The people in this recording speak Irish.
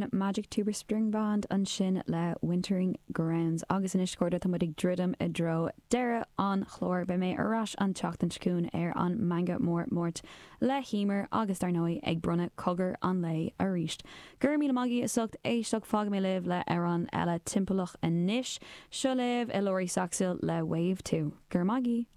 Sin Magic Tuba String Band ansin le Wintering Grounds. Agus anois, a chairde, tá muid ag druidim i dtreo deireadh an chláir. Beidh mé ar ais an tseachtain seo chugainn ar an Meangadh Mór Máirt le hEmer agus, dar ndóigh, ag bronnadh Cogar an Lae arís. Go raibh míle maith agaibh as ucht éisteacht. Fágfaidh mé libh le amhrán eile timpeallach anois. Seo libh Ilori Saxil le Wave 2. Go raibh maith agaibh!